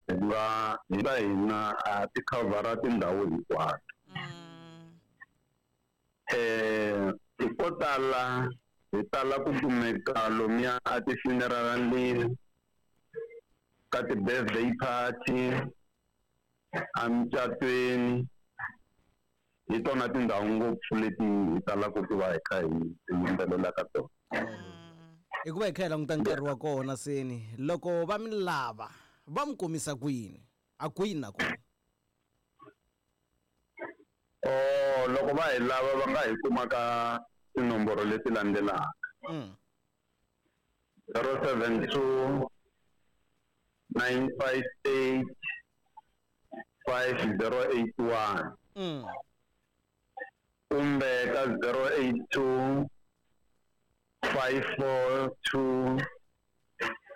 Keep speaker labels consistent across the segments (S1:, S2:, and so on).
S1: Hi nga hi ta hina a ti khavhara tindhawu hinkwato. Ko tala hi tala ku kumeka lomuya a ti-funeral-ini, ka ti-birthday party, emucatweni. Hi tona tindhawu ngopfu leti hi talaka ku va hi kha hi yimbelela ka tona.
S2: Hikuva hi kha hi languta nkarhi wa kona seni, loko va mi lava va mi kumisa kwini, a kwini na kona?
S1: Oh, loko va hi lava va nga hi kuma ka tinomboro leti landzelaka. 072 958 5081. Kumbe ka 082 542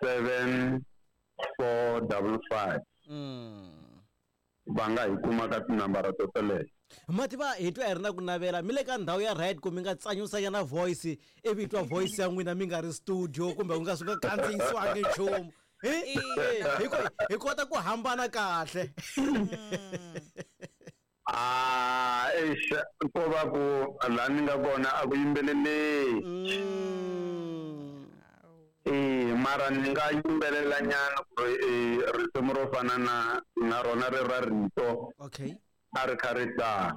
S1: 7455. Va nga hi kuma ka tinambara to teleto.
S2: Mativa hi twa hi ri na ku navela mi le ka ndhawu ya right ku mi nga tsanyusanyana voice ivi hi twa voice ya n'wina mi nga ri studio kumbe ku nga swi nga kandziyisiwangi nchumu. Hi kota ku hambana kahle.
S1: Ah, eish, ko va ku laha ni nga kona a ku yimbeleleki. Mara ni nga yimbelela nyana ku ri risimu ro fana na rona ri ra rito.
S2: Okay.
S1: A ri kha ri tana.